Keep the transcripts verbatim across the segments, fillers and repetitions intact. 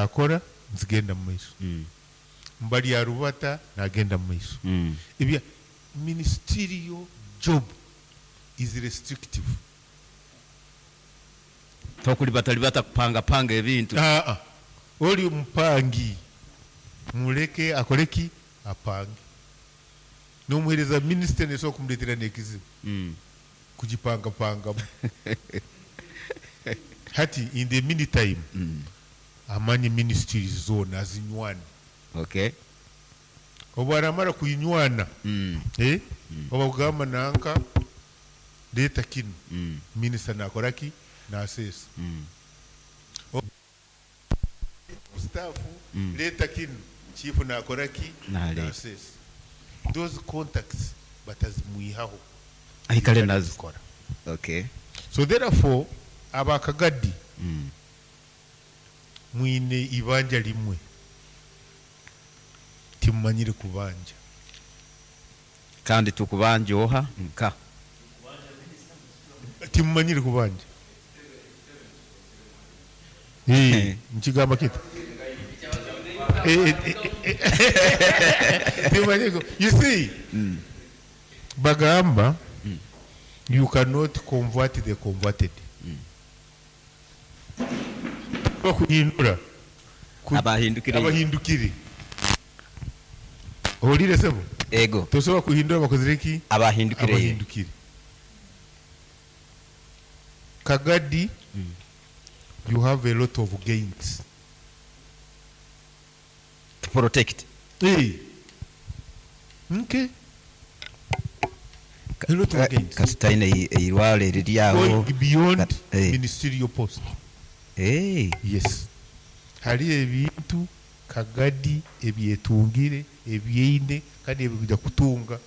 Akora nzigenda mu maiso. Mm. Mbali arubata nagenda mu maiso. Mm. Ebya ministerial job is restrictive. Tokulibatalibata kupangapanga ebintu. Ah, ah. Oli mupangi muleke akoleki apange nomuhereza minisita nesobola kumuletera nekizibu Mm. kugipangapangamu. Hati in the meantime Mm. amanye ministries zona azinywane. Okay. Obu aramara kuyinywana, Mm. eh? Oba kugamba nanka leeta kinu, Mm. minisita nakoraki nasesa. Mm. Staff, Mm. leeta kinu, chief nakoraki Naleeta. nasesa. Those contacts batazimwihaho. Aikale nazo. Zikora. Okay. So therefore abakagadi Mm. mwine ibanja limwe timumanyire kubanja. Kandi tukubanja oha nka Timumanyire kubanja. Eh, nkigamba kita. Eh, eh, eh, eh, timumanyire ku- you see, bagamba you cannot convert the converted. Bakuhindura Ku- abahindukire. Abahindukire. Owulire sebo? Ego. Tosobola kuhindura bakozire ki? Abahindukire. Abahindukire. Kagadi, you have a lot of gains. To protect. Hey. Okay. A lot of gains. Kati talina eirwalo eriri awo. Going beyond Kat- eh. ministerial post. Eh. Yes. Hari ebintu Kagadi ebyetungire ebyeine kandi ebikuja kutunga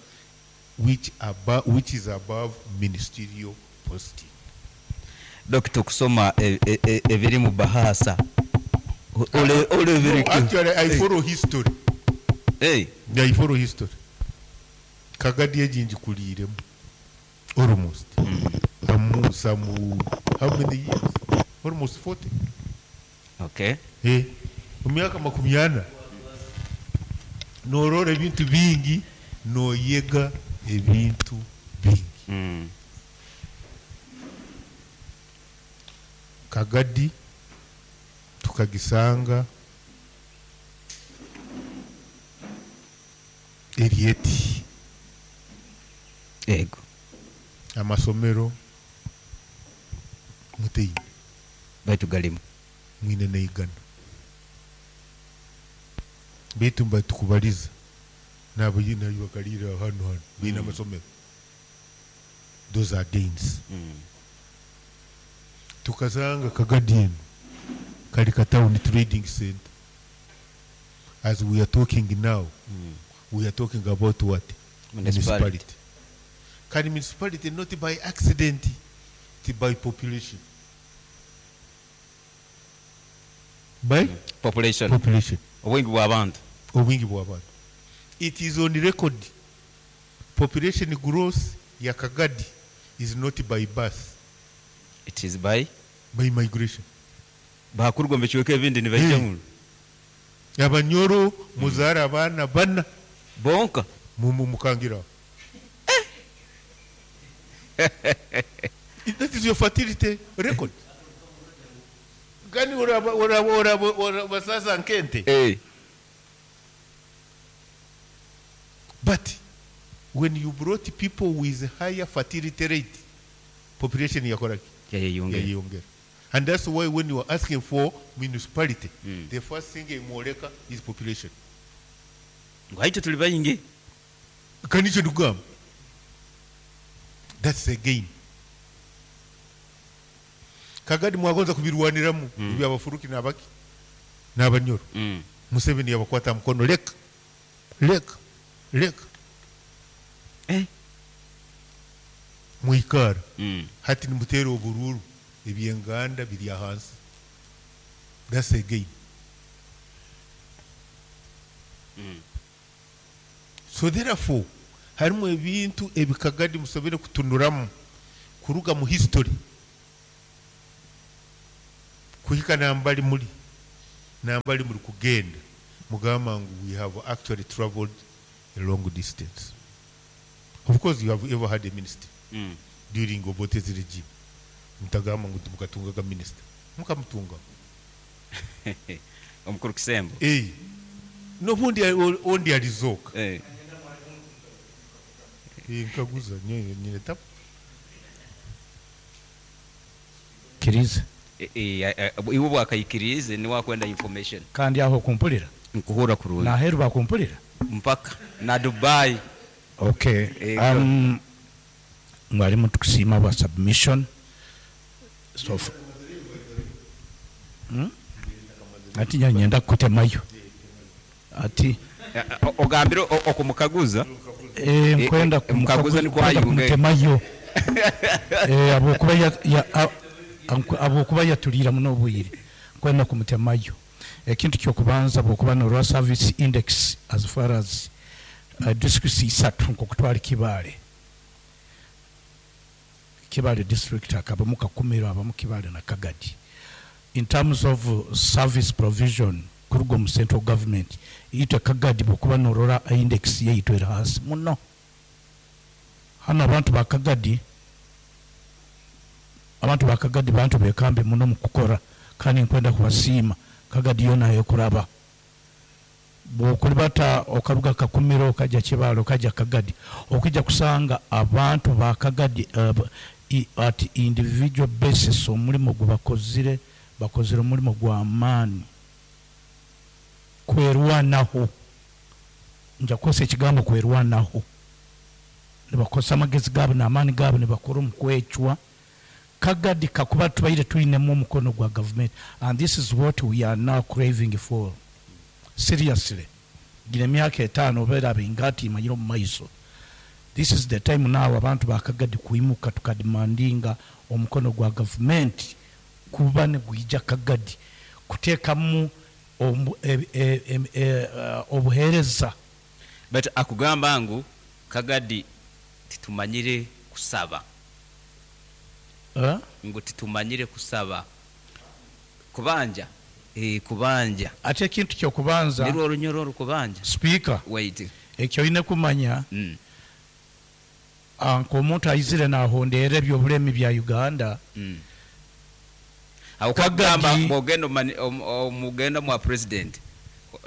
which aba, which is above ministerial posting. Dokita okusoma e- e- e- ebiri mu bahasa. O- ole ole No, ebiri. actually I follow history. Eh. I follow history. Kagadi egi ngikuliiremu almost. Amu some how many years? Almost forty. Okay. Eh, mu myaka makumi ana norora ebintu bingi noyega ebintu bingi. Mm. Kagadi tukagisanga erieti. Ego. Amasomero muteine. Baitu galimu. Mwine neigana baitu mba tukubaliza nabo yina bakalira hano hano bina Mm. amasomero. Those are gains. Mm. Tukasanga Kagadi eno kali ka town trading center. As we are talking now, Mm. we are talking about what? Municipality. Municipality. Can municipality not by accident, it by population. By population. Population. Obwingi bw'abantu. Obwingi bw'abantu. It is on record. Population growth ya Kagadi is not by birth. It is by by migration. Bakurwa mu kiweka ebindi nibaija Hey. muno. Abanyoro muzara abaana bana bonka mu mukangira. That is your fertility record. Gani oraba oraba oraba oraba sasa nkente. Eh. But when you brought people with higher fertility rate, population yakoraki? Yayeyongera. Yayeyongera. And that's why when you are asking for municipality, Mm. the first thing imwoleka is population. Ngwaito tuli bayingi. Kanicho ndugamba. That's a gain. Kagadi mwagonza kubirwaniramu Mm. ebya abafuruki n'abaki n'abanyoro. Mm. Museveni yabakwata mukono leka leka leka. Eh. Mwikara. Mm. Hati nimutera obururu ebyenganda biri ahansi. That's a gain. Mm. So therefore harimu ebintu ebikagadi musobere kutunuramu kuruga mu history kuhika nambali muri Nambali muri kugenda mugamba ngu we have actually traveled a long distance. Of course you have ever had a minister Mm. during Obote's regime. Mutagamba ngu mukatungaga minister, mukamutunga. Omukuru Kisembo. Eh, nobundi ondi alizoka. Eh. Eh, nkaguza nyo nyine tap. Kiriza. Eh, eh, eh, iwe bwakayikirize niwakwenda information. Kandi aho kumpulira. Nkuhura kurungi. Naheru bakumpulira. Mpaka na Dubai. Okay. Eh, um, mwalimu, tukusiima bwa submission. So f- hmm? Ati nyenda kutemayo ati. Eh, eh, ogambire o- okumukaguza. Eh, nkwenda Eh, mukaguza kumukaguza- niko nkwenda ayunge. kumutemayo. Eh, habwokuba ya- ya- a- anku- habwokuba yatulira muno obwire, nkwenda kumutemayo. Ekintu kyokubanza, bwokuba norwa service index as far as uh, districts isatu, nkokutwala Kibaale, Kibaale district akabamu Kakumiro, abamu Kibaale na Kagadi. In terms of uh, service provision kuruga omu central government, itwe Kagadi bwokuba norora index yaitu eri hansi muno. Hano abantu ba Kagadi, abantu ba Kagadi bantu bekambe muno mu kukora, kandi nkwenda kubasiima. Kagadi yona ekuraba bwokulibata okaruga Kakumiro okajja Kibaale okajja Kagadi, okujja kusanga abantu ba Kagadi uh, i- at individual basis omulimu gwe bakozire, bakozire omulimu gwa maani kwerwanaho. Nja kukozesa ekigambo kwerwanaho. Nibakozesa amagezi gaabo n'amaani gaabo, nibakora omu kwecwa. Kagadi kakuba tubaire tulinemu omukono gwa government, and this is what we are now craving for seriously. Gina emyaka etaano obeera bingati imanyire omu maiso. This is the time now abantu bakagadi kuimuka, tukademandinga omukono gwa government kuba negwija Kagadi kuteekamu omu- e- e- e- e- uh, obuheereza. But akugamba ngu Kagadi titumanyire kusaba. Eh? Ngu titumanyire kusaba kubanja, eh, kubanja. Ate ekintu kyokubanza, nirwo orunyoro orukubanja. Speaker, wait. Ekyo oyine kumanya, mm. ah, nk'omuntu aizire nahondera ebyobulemi bya Uganda. Mm. Awo Kagadi- kagamba bwogenda omani- om- omugenda mwa president,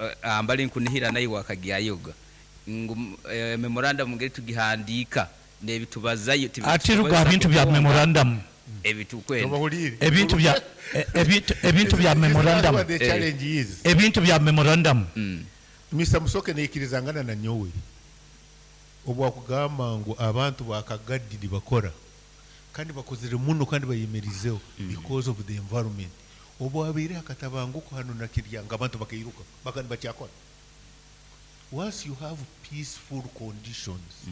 eh, ambali nkunihira naye wakagyayoga ngu eh, memorandum ngeri tugihandika nebitubazayo. Ate ruga bintu bya memorandum. Ebitukwenda. Tobahulire. Ebintu bya e- ebintu ebintu bya memorandum. What the challenge is. Ebintu bya memorandum. Mm. Mister Musoke, neikirizangana na nyowe obwakugamba ngu abantu bakagadi bakora kandi bakozere muno kandi bayemerizeho because of the environment. Obwabaire akatabanguko hano na Kiryanga, abantu bakairuka bakandi bakyakora. Once you have peaceful conditions,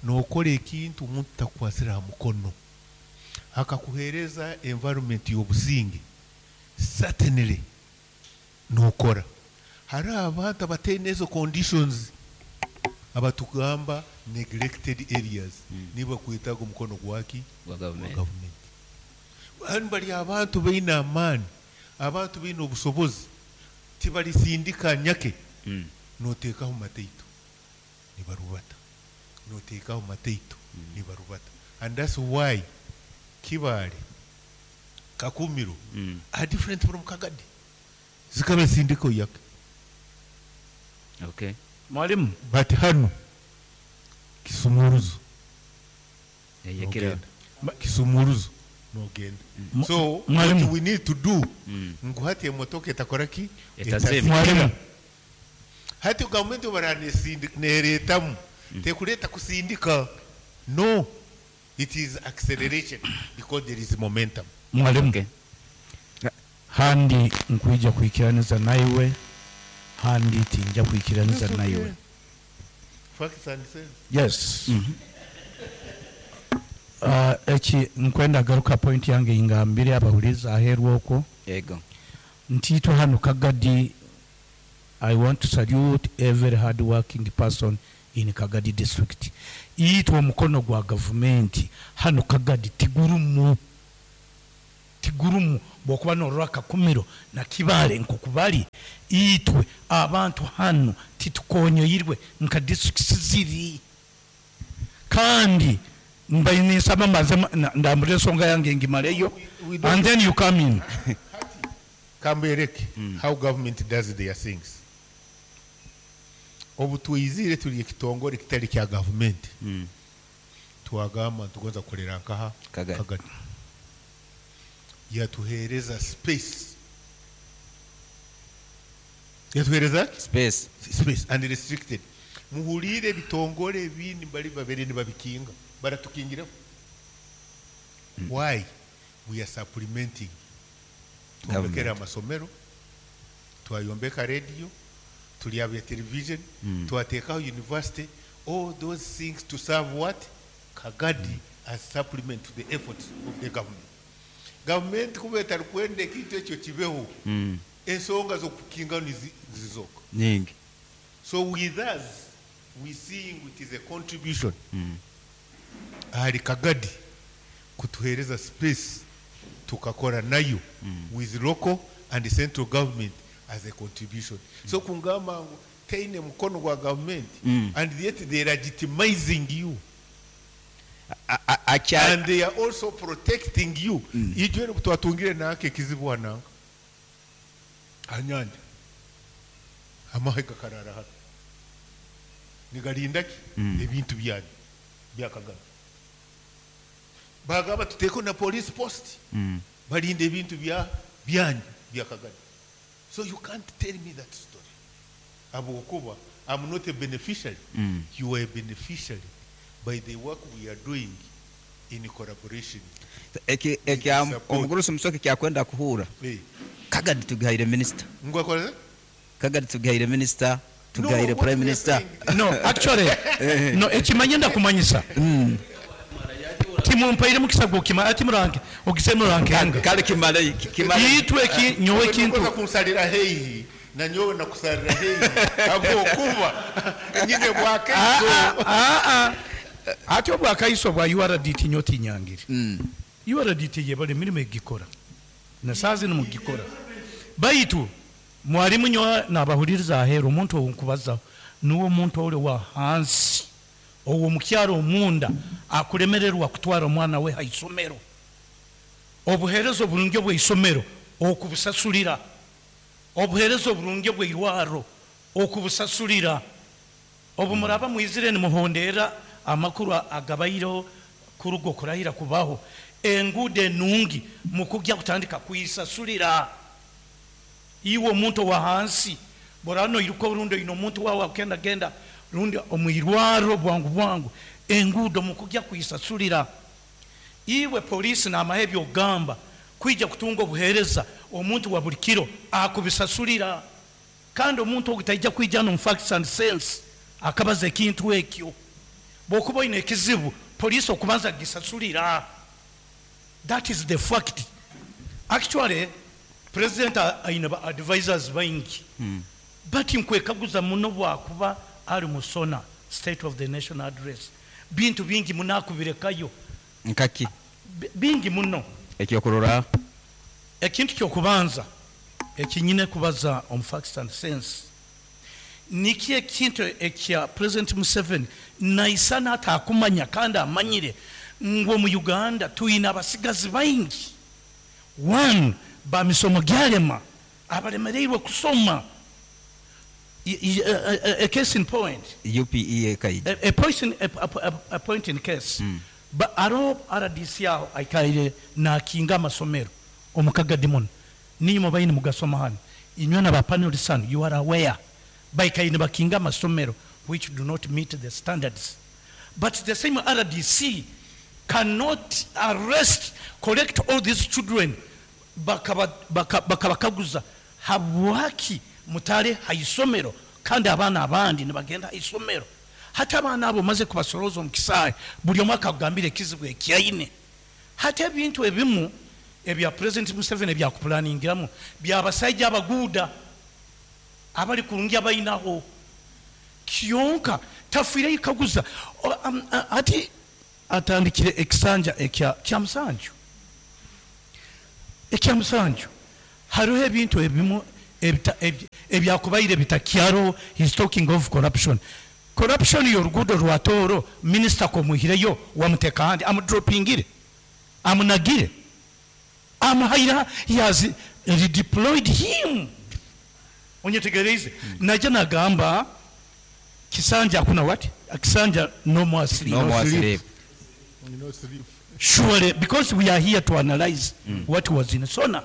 nokora ekintu omuntu takukwasira ha mukono, akakuhereza environment y'obusinge, certainly nokora. Hari abantu abateine ezo conditions abatugamba neglected areas, niba kwetaga omukono gwaki? Gwa Gwa government. Government. Hano bali abantu baine amaani, abantu baine obusobozi, tibalisindika nyake. Mm. Noteekaho mataito nibarubata, noteekaho mataito nibarubata. And that's why Kibaale, Kakumiro Mm. are different from Kagadi, zikaba sindiko yake. Okay. Mwalimu. But hano Kisumuruzo, Eyekera. nogenda Kisumuruzo, nogenda. Mu- So Mwalimu. what we need to do, Mm. ngu hati emotoka etakora ki? Etazima. Mwalimu. Hati gavumenti baraneretamu, tekuleta kusindika. No, it is acceleration because there is momentum. Mwalimu. Okay. Handi nkwija kwikiraniza naiwe, handi tinja kwikiraniza naiwe. Facts and sense. Yes. Uh, eki nkwenda garuka point yange ingambire abahuliza aheru okwo. Ego. Ntiitwe hano Kagadi, I want to salute every hard working person in Kagadi district. Itwe omukono gwa gavumenti hano Kagadi tigurumu. Tigurumu bwokuba norora Kakumiro na Kibale nkokubali, itwe abantu hanu titukonyoirwe nka districts ziri. Kandi mbaye ninsaba mbanze ma- na- ndambure ensonga yange ngimaleyo, We don't- and then you come in. Kambereke how government does their things. Obu twizire turi ekitongore kitari kya gavumenti, Mm. twagamba ntugonza kukolera nkaha? Kagadi. Kagadi yatuhereza space, yatuhereza ki? Space. Space and restricted. Muhulire, ebitongore ebindi bali babere nibabikinga, baratukingiraho. Why? We are supplementing. Twombekera Government. amasomero, twayombeka radio, tulyabya television, Mm. twateekaho university, all those things to serve what? Kagadi, as supplement to the efforts of the government. Government kuba etarikwenda ekintu ekyo kibeho, Mm. ensonga z'okukinga nizi- zizoka Nyingi. So with us, we seeing it is a contribution Mm. ahari Kagadi kutuhereza space tukakora nayo with local and central government as a contribution. So kungamba ngu teine mukono gwa government, Mm. and yet they are legitimizing you A- a- akya and they are also protecting you. Ijwe twatungire nake ekizibu wananga hanyanja, amahe gakarara hano nigarinda ki? Mm. Ebintu byanyu bya Kagame. Bagamba tuteeko na police post, Mm. balinda ebintu bya byanyu bya Kagame. So you can't tell me that story habwokuba I'm not a beneficiary. Mm. You are a beneficiary by the work we are doing in collaboration. Eki ekya Support. omugurusi Musoke kyakwenda kuhura, Hey. Kagadi tugaire minister. Ngwakoze. Kagadi tugaire minister, tugaire No, what prime we are minister. saying- No, actually no, ekimanye ndakumanyisa timumpaire mukisa gwokima ati muranke ogise murankenga. Kale kimale kimale. Itwe eki nyowe ekintu Nukoza kunsalira heihi na nyowe nakusalira heihi habwokuba nyine bwakaiso. Ah, ah. Ate obwakaiso bwa U R D T nyo tinyangire. Mm. U R D T yebale emirimu egikora nasaazi nimugikora, baitu mwalimu nyo nabahuliriza aheeru, omuntu owu nkubazaho niwe omuntu ori wa hansi owo mukyaro omunda akulemererwa kutwara omwana we haisomero, obuheereza oburungi obweisomero okubusasulira, obuheereza oburungi obweirwaro okubusasulira. Obu muraba mwizire nimuhondera amakuru agabaireho kuruga okurahira kubaho, enguudo enungi mukujja kutandika kuisasulira. Iwe omuntu owa hansi borano iruka orundi oine omuntu wawe akenda genda rundi omwirwaro bwangu bwangu, enguudo mukujja kuisasulira. Iwe polisi n'amahe byogamba kwija kutunga obuheereza omuntu wa buli kiro akubisasulira. Kandi omuntu ogu taija kwija no facts and sense akabaza ekintu ekyo. Bwokuba oine ekizibu, polisi okubanza gisasulira. That is the fact. Actually president aine ba advisors baingi, Mm. but nkwekaguza muno bwakuba ali musona State of the Nation Address, bintu bingi muno akubirekayo. Nkaki? Bi- bingi muno. Ekyokurora. Ekintu kyokubanza ekinyine kubaza omu facts and sense, niki ekintu ekya President Museveni naisana atakumanya kandi amanyire ngu omu Uganda tuyina abasigazi baingi, one bamisomo gyalema, abalemereirwe kusoma. I- I- a, a, a case in point, U P E ekaija. a, a, point in, a, a, a point in case, Mm. ba aro R D C aho aikaire nakinga amasomero omukagadi muno, ninyuma baini mugasoma hano inywe na bapanelists hano, you are aware baikaire nibakinga amasomero which do not meet the standards, but the same R D C cannot arrest, collect all these children, bakaba- baka- bakabakaguza habwaki mutale haisomero kandi abaana abandi nibagenda haisomero. Hati abaana abo maze kubasoroza omu kisaawe, buli omu akagambira ekizibu ekyaine. Hati ebintu ebimu ebya President Museveni ebyakuplaningiramu byabasaija abaguuda abali kurungi abainaho kyonka tafiireyo kaguza. O- am- a- ati atandikire ekisanja ekya kya musanju. Ekyamusanju, hariho ebintu ebimu ebita- ebi- ebyakubaire bitakyaro. He's talking of corruption. Corruption y'oruguudo rwa Tooro, minisita komuhireyo wamuteka ahandi, amudropingire, amunagire, amuhaira, he has redeployed him. Onyetegereize? Najja nagamba kisanja hakuna what, kisanja no more sleep. No more sleep. sleep. No sleep. Surely, because we are here to analyze what was in SONA.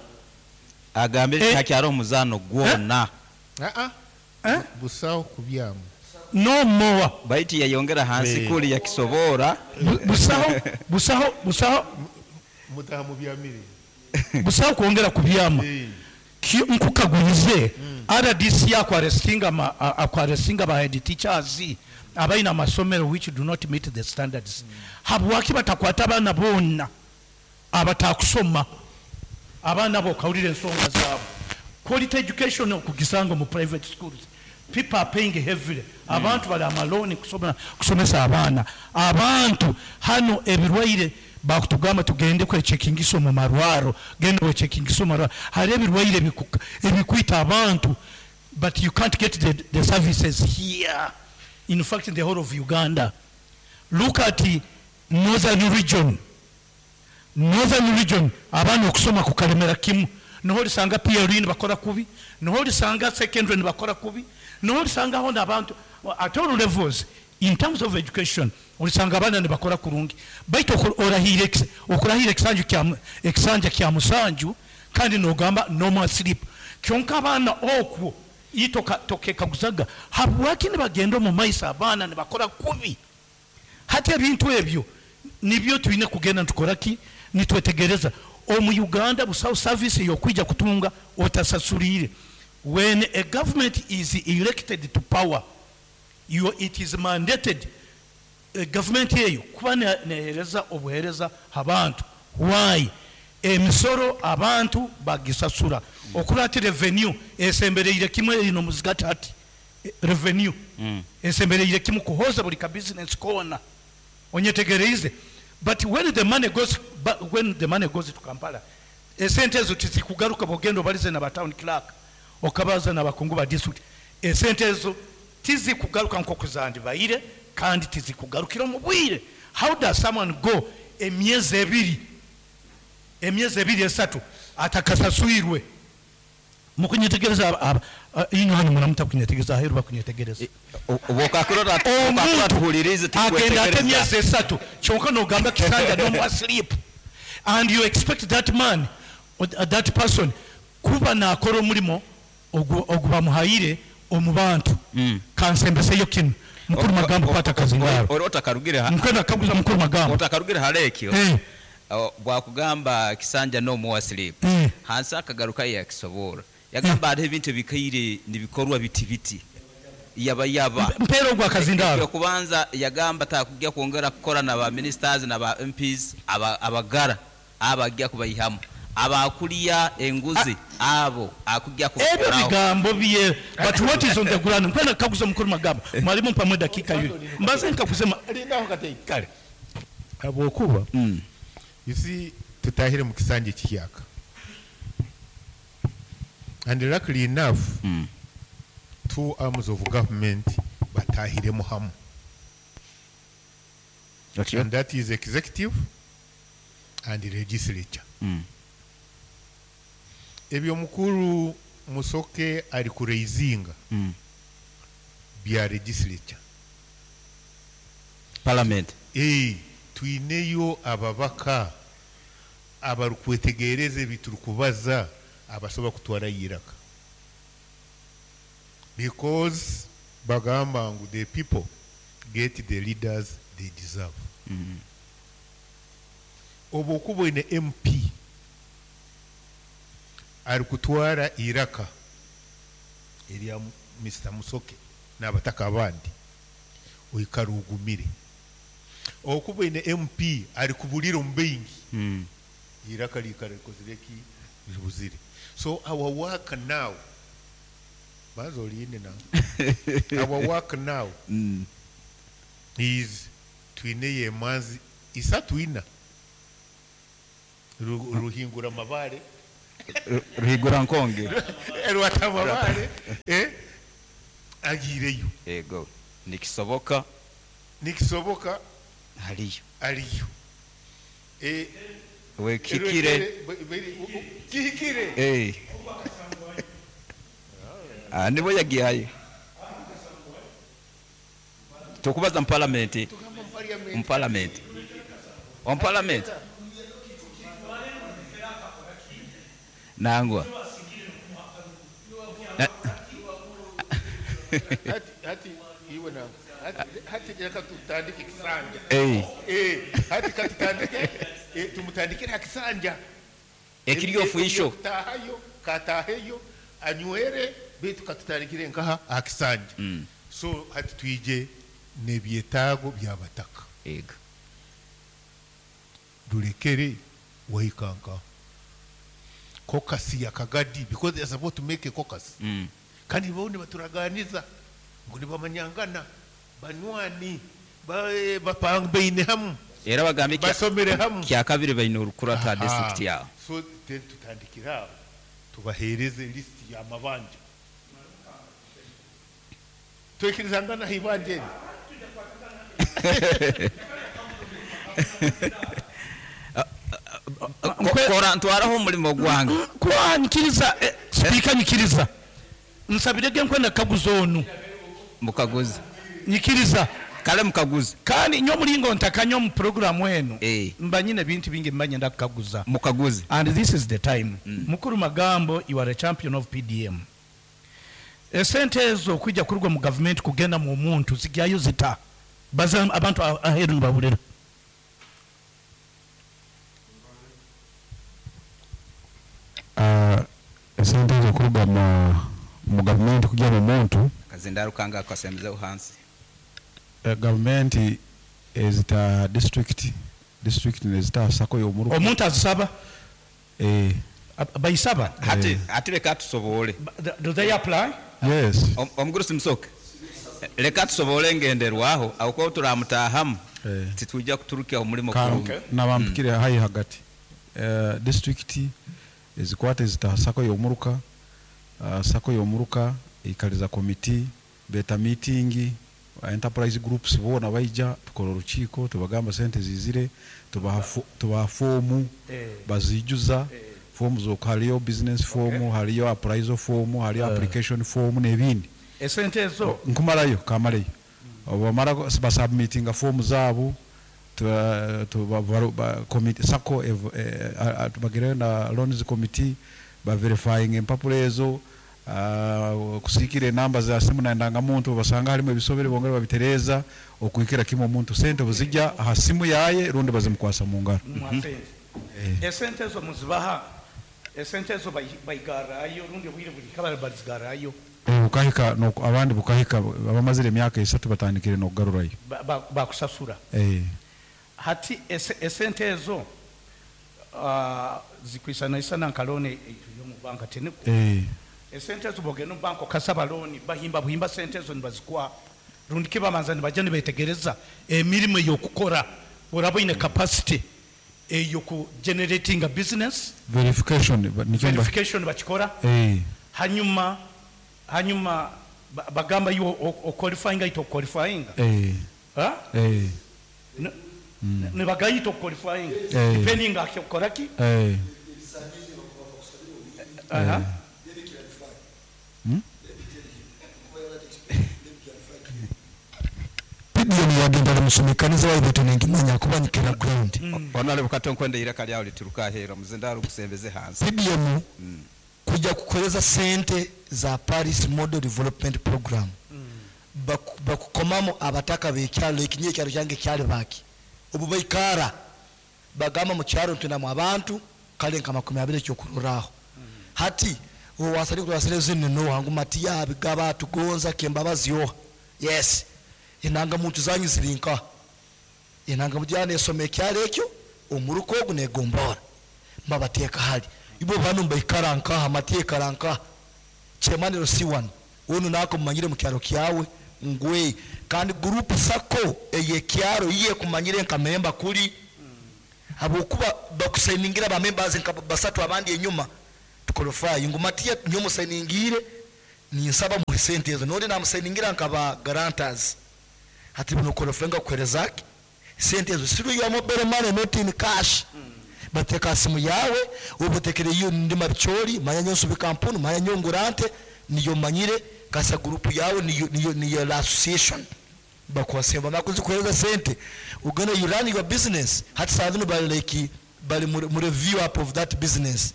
Agambe Eh. takyali omuzaano gwonna. Ah, ah. Eh? Busaho kubyamu. No more. Baiti yayongera hansi Eh. kuli yakisoboora. Bu- busaho busaho busaho. Mutaha mu byamire. Busaho kwongera kubyama. Eh. Ki- nkukagulize, R D C akwarestinga ma- a- akwarestinga ba head teachers abalina amasomero which do not meet the standards. Habwaki batakwata abaana bonna abatakusoma, abaana bo okawulira ensonga zaabwe? Quality education okugisanga mu private schools, people are paying heavily. Abantu bali amalooni kusoma- kusomesa abaana. Abantu hano ebirwaire bakutugamba tugende kwechekingisa mu marwaro, genda wechekingisa mu marwaro. Hari ebirwaire ebiku- ebikwita abantu, but you can't get the, the services here. In fact, in the whole of Uganda, look at the northern region. Northern region, abaana okusoma kukalemera kimu. Noho olisanga P L E nibakora kubi, noho olisanga secondary nibakora kubi, noho olisangaho n'abantu at all levels in terms of education. Olisanga abaana nibakora kurungi, baitu oku- orahire ekis- okurahira ekisanju kya- ekisanja kya musanju kandi nogamba no more sleep. Kyonka abaana okwo itoka tokekaguzaga habwaki nibagenda omu maiso, abaana nibakora kubi. Hati ebintu ebyo nibyo tulina kugenda nitukoraki, nitwetegereza. Omu Uganda busaho service yokwija kutunga otasasulire. When a government is elected to power, you, it is mandated, eh, government eyo kuba ne- nehereza obuhereza abantu. Why? Emisoro abantu bagisasura. Okura ati revenue esembereire kimwe ino muzigati ati. Eh, revenue esembereire kimwe kuhoza buli ka business kona. Onyetegereize? But when the money goes ba- when the money goes to Kampala, esente ezo tizikugaruka. Bwogenda obalize na ba town clerk, okabaza n'abakungu ba district, esente ezo tizikugaruka nk'oku zandibaire kandi tizikugarukira mu bwire. How does someone go emyezi ebiri, emyezi ebiri, esatu atakasaswirwe? Mukunyetegereza? Ino hano muramuta kunyetegereza, aheru bakunyetegereza. Obwokakirora Omuntu tuhulirize. Agenda ate Tukwetegereza. Emyezi esatu, kyonka nogamba kisanja no more sleep, and you expect that man or that person kuba nakora omulimo ogu ogu bamuhaire omu bantu. Mm. Kansembeseyo kino, mukuru Magambo, kwata kazindaro. Ori otakarugire ha- Nkwenda kaguza mukuru Magambo. Otakarugire hara ekyo. Eh, O, bwakugamba kisanja no more sleep, eh. hansi akagaruka yakisoboora, yagamba hariho ebintu ebikaire nibikorwa biti biti yaba yaba. Mpeera ogwo akazindaro. Okubanza yagamba takujja kwongera kukora na ba ministers na ba M Ps aba- abagara abajja kubayihamu abakulya enguzi, abo akujja Ebyo kubakoraho. Bigambo bye, but what is on the ground? Nkwenda kaguza mukuru Magambo. Mwalimu, mpamwe dakika yuli mbaze nkakusema. Lindaho katei. Kale. Habwokuba Mm. you see, tutahire mu kisanja ekihyaka, and luckily enough, Mm. two arms of government batahiremu hamu, and that is executive and legislature. Mm. Ebyo mukuru Musoke ari kuraisinga Mm. bya legislature. Parliament. Eh, twineyo ababaka abarukwetegereza ebi turikubaza, abasobola kutwara iraka, because bagamba ngu the people get the leaders they deserve. Mm. Obu okuba oine M P ari kutwara iraka erya Mister Musoke n'abataka abandi, oikara ugumire. Okuba oine M P ari kubulira omu baingi, Mm. iraka liikara rikozire ki? Ribuzire. So our work now, banza oliine now, our work now Mm. is twineyo emanzi isatu ina. Ru- ruhingura Mabare. Ruhigura nkonge. Rwatababare eh agireyo. Yego, nikisoboka. Nikisoboka haliyo. Aliyo. Eh we kikire. Kikire. Eh. Ah nibo yagiye. Tukubaza mu parliament. Mu parliament. On parliament. Nangwa. Hati hati iwe na hati hati reka tutandike kisanja. Eh. Eh hati katutandike eh tumutandikire hakisanja. Ekiri ofisho. Tahayo kataheyo anywere bitu katutandikire nkaha hakisanja. Mm. So hati twije nebyetaago byabataka. Ego. Dulekere wahikanka. Caucus ya Kagadi because they are supposed to make a caucus. Mm. Kandi bone baturaganiza ngo nibamanyangana banywani bapanga hamu. Era bagambe basomere hamu. Kya kabiri bayino urukurata district ya. So then tutandikira tubahereze list ya mabanja. Twekirizangana hibanje. Kora ntwaraho umurimo gwange. Kwa nyikiriza speaker nyikiriza. Nsabirege nkwenda kaguzo onu. Mukaguzi. Nyikiriza. Kale mukaguzi. Kandi nyo mulingo ntakanyo mu program wenu. Eh. Mbanyine bintu bingi mbanye ndakaguza. Mukaguzi. And this is the time. Mm. Mukuru Magambo, you are a champion of P D M. Esente ezo kujja kurugwa mu government kugenda mu muntu zigyayo zita. Baza abantu aheru nibabulira. Uh, esente ezo kuruga mu, mu government kujya mu muntu kazindaru kanga kasemeze uhansi. Uh, government ezita district district nezita sako yo muruka. Omuntu azisaba? Eh bayisaba. Hati eh. Hati leka tusobole. Do they apply? Yes. Omuguru simusoke. Leka tusobole ngenderwaho aho turamutahamu. Eh. Titujja kuturukia omulimo kurungi. Nabampikire mm. Hayi hagati. Uh, district ezikwate zita sako yomuruka uh, sako yomuruka ikaliza committee beta meeting enterprise groups bona baija tukora uruchiko tubagamba sente zizire tubaha tubaha form eh. bazijuza eh. Form zo haliyo business form, okay. Haliyo appraisal form, haliyo uh. application form n'ebindi. Esente ezo nkumarayo kamarayo mm. Obamara basubmittinga form zabo tu tu ba committee sako eh, tubagire na loans committee ba verifying empapuro ezo uh, kusikire namba za simu na ndangamuntu basanga harimo ebisobere bongera babitereza okuikira kimwe omuntu sente buzijja aha simu yaye rundi bazimukwasa mu ngaro. Esente ezo muzibaha esente ezo bayigarayo rundi bwire buri kabara bazigarayo bukahika no abandi bukahika abamazire emyaka esatu batandikire no kugarurayo bakusasura ba, eh hati esente ezo uh, zikwisana isana nkalone eyo mu banka tene eh esente ezo bogeno banko kasaba loan bahimba buhimba sente ezo nibazikwa rundi kibamanza nibaje nibetegereza emirimo yokukora orabo ine capacity eyo ku generating a business verification verification bakikora eh hanyuma hanyuma bagamba yo o qualifying ito qualifying eh ha eh mm. Ne bagayito qualifying eh. Depending akikora ki eh aha hmm? P D M yagenda musomekaniza wayibeto nengimanya kubanyikira ground. Mm. Onale bukatonkwende iraka lyawo lituruka hera muzindaro gusembeze hansi. P D M mm. kujya kukoleza sente za Paris Model Development Program. Mm. Bakukomamo abataka bekyalo ekinye kyalo kyange kyali baki. Obu baikara bagamba mu kyalo ntunamu abantu kale nka makumi abiri kyokururaho. Mm. Hati owasali kurasire zine no wangu matiya bigaba tugonza kembabazi yo. Yes. Inanga muntu zanyu zirinka. Inanga mujyane esome kyalo ekyo omuruko ogunegombora. Mbabateka hali. Ibo bano mbaikaranka amateka ranka. Chemanero si one. Ono nako mumanyire mu kyalo kyawe ngwe kandi group sako eye kyalo iye kumanyire nka member kuli. Abokuba bakusainingira ba members nka basatu abandi enyuma. Tuqualify ngu Matiya nyo musayiningire, ninsaba muhe sente ezo, nori namusayiningira nkaba guarantors. Hati bino qualify nga kuhereza sente ezo siru ya mobile money, not in cash. Bateka simu yawe ubutekere iyo ndi mabichori manya nyonso bikampuni manya nyongurante niyo manyire kasa group yawe niyo niyo niyo la association bakwasemba makuzi kuhereza sente ugana, you run your business. Hati saa bali like bali mu mu review up of that business,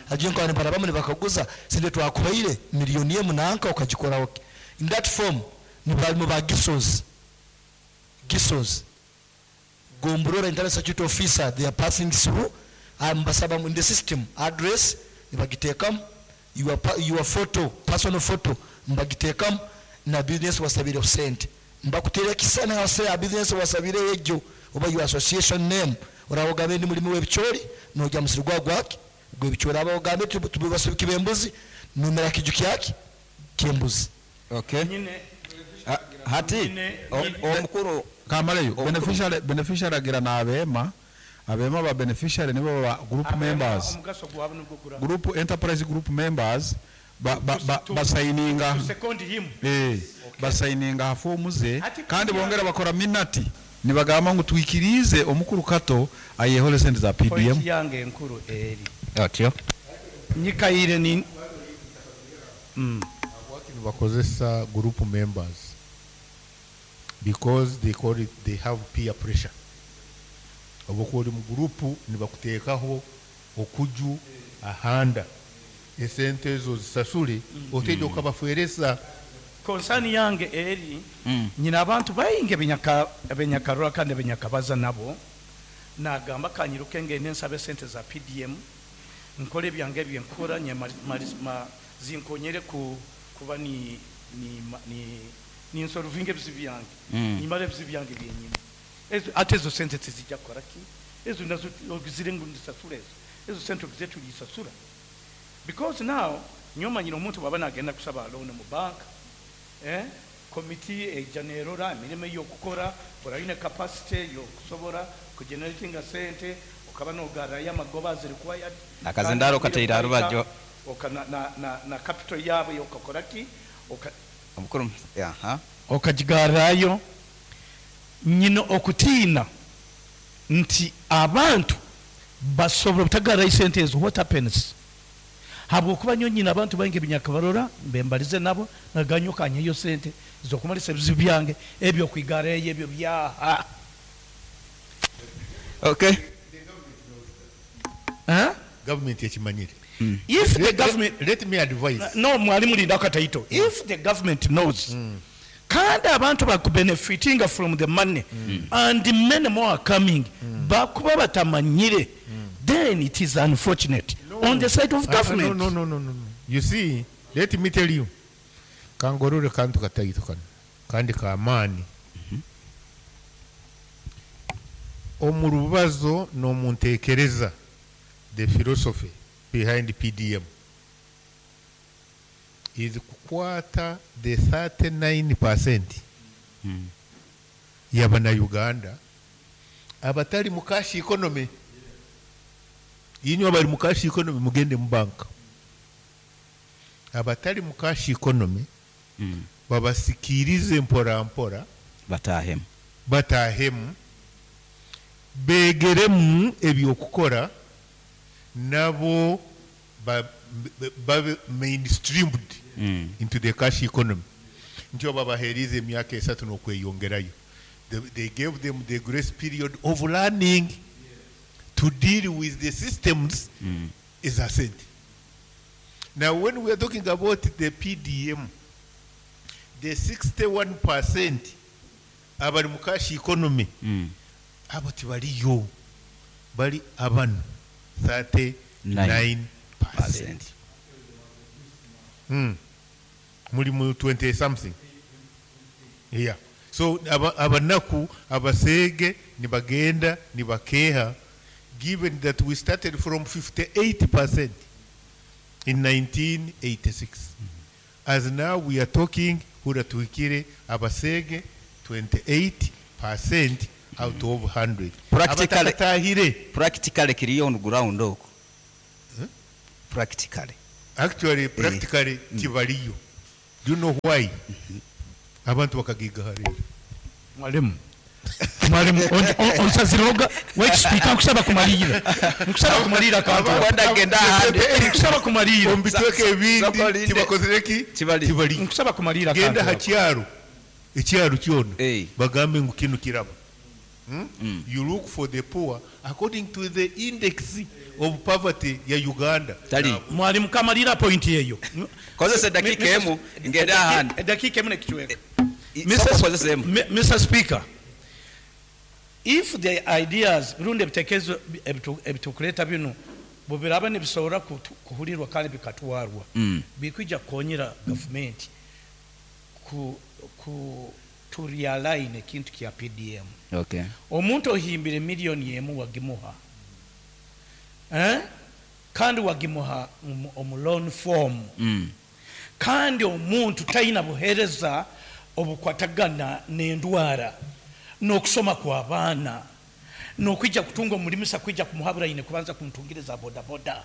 agiye kwa bara bamwe bakaguza sente twakuhaire miliyoni ye munanka ukagikora okay. In that form ni bali mu ba gisos gisos Gomborora internal security officer, they are passing through ambasaba in the system address nibagitekamu, your, pa- your photo, personal photo mbagitekamu, na business wasabire sente mbakutera kisana hase ya business wasabire ejo oba your association name. Orawogambe ndi mulimi w'ebichori, nojya musiri gwa gwaki gwebichori, abawogambe tubibasubika embuzi, numera kiju kyaki kyembuzi. Okay. Nyine. Ah, hati Nyine- o- omukuru Kamaleyo. Omukuru. Beneficiary, beneficiary agira na abema abema ba beneficiary nibo ba group members. Omugaso gwabwe nibwo gura Group enterprise group members ba ba ba basayininga to second him. eh basayininga ha fomu ze. Ati kandi kugira- bongera bakora minati nibagamba ngu twikirize omukuru Kato ayehole sente za P D M. Point yange enkuru eri otyo nyikaire ni mm. Bakozesa group members because they call it they have peer pressure. Oba ori mu group nibakuteekaho okuju ahanda esente ezo zisasule oteje okabaferesa. Concern yange eri Mm. nyina abantu baingi benyaka benyakarora kandi benyakabaza nabo nagamba kanyiruke ngende nsabe sente za P D M nkole ebyange byenkora nye mari- mari- ma- zinkonyere ku kuba ni ni ma- ni ni nsolvinge ebizibu byange, Mm. nimara ebizibu byange byenyine. Ezo ate ezo sente tezijja kukola ki? Ezo nazo ogizire ngu ndisasula ezo ezo sente ogize tulisasula, because now nyomanyire omuntu bwaba nagenda kusaba loan mu bank, eh komiti ejja nerora emirimu ey'okukora, orayine capacity yokusobora kugeneratinga sente okaba nogarayo amagoba as required. Akazindaro kateire aha rubaju. Oka na, na, na, na capital yaabwe okakora ki oka Omukuru, aha. Okagigarayo. Nyina okutiina nti abantu basobora obutagarayo sente ezo, what happens? Habwokuba nyo nyina abantu baingi ebinyakabarora mbembalize nabo naganyokanyeyo sente zokumalisa ebizibu byange ebyo kwigarayo ebyo byaha. Okay. Eh? Government ekimanyire. If the Let- government let, let me advise. No, mwalimu, linda akataito. If the government knows kandi abantu bakubenefitinga from the money and many more are coming, bakuba batamanyire, then it is unfortunate on the side of Ah, government. no, no, no, no, no. You see, let me tell you, kangorore kantu kataito kano kandi kamaani omu rubazo n'omunteekereza. The philosophy behind P D M is kukwata the thirty-nine percent Mm. y'abannayuganda abatali mu cash economy. Inywe abali mu cash economy mugende mu banka. Abatali mu cash economy Mm. babasikirize mpora mpora. Batahemu. Batahemu, begeremu ebyokukora nabo ba- babe mainstreamed Mm. into the cash economy. Nti babaheeriza emyaka esatu n'okweyongerayo. they, they gave them the grace period of learning to deal with the systems Mm. is sente. Now, when we are talking about the P D M, the sixty-one percent abali mu cash economy, Mm. abo tibaliyo, bali abano thirty-nine percent. Percent. Mm. Muli mu twenty something, yeah. So aba- abanaku abaseege nibagenda nibakeha, given that we started from fifty-eight percent in nineteen eighty-six, as now we are talking hura tuhikire abaseege twenty-eight percent out of one hundred. Practically- abatakatahire. Practically kiriyo on ground okwo. Practically. Actually, practically tibaliyo. Do you know why? Abantu bakagigaharira. Mwalimu, mwalimu, onsaziroga wait, speaker, nkusaba kumalira, nkusaba kumalira kantu. Wenda genda ahandi. Nkusaba kumalira. Omu bitweka ebindi Sokolinde. tibakozereki. Tibali. Tibaliyo. Nkusaba kumalira Genda kantu. ha kyaro, ekyaro kyona, Eh. bagambe ngu kino kiraba. Hmm? You look for the poor according to the index of poverty ya Uganda. Tali. Mwalimu, kamalira point eyo. Kozesa eddakiika emu, ngende ahandi. Eddakiika emu nekichweka. Sooka okozesa emu. M- Mister Speaker, if the ideas rundi ebitekerezo ebitu- ebitukuleeta bino bwebiraba nibisobora kutu- kuhulirwa kandi bikatwarwa, Mm. bikwija kukonyera gavumenti ku, ku to realign ekintu kya P D M. Okay. Omuntu ohimbire miliyoni emu wagimuha, eh? Kandi wagimuha omu- omu loan form, Mm. kandi omuntu talina buheereza obukwatagana n'endwara n'okusoma kw'abaana n'okwijja kutunga omulimisa kwijja kumuhabura ine kubanza kumutungiriza bodaboda.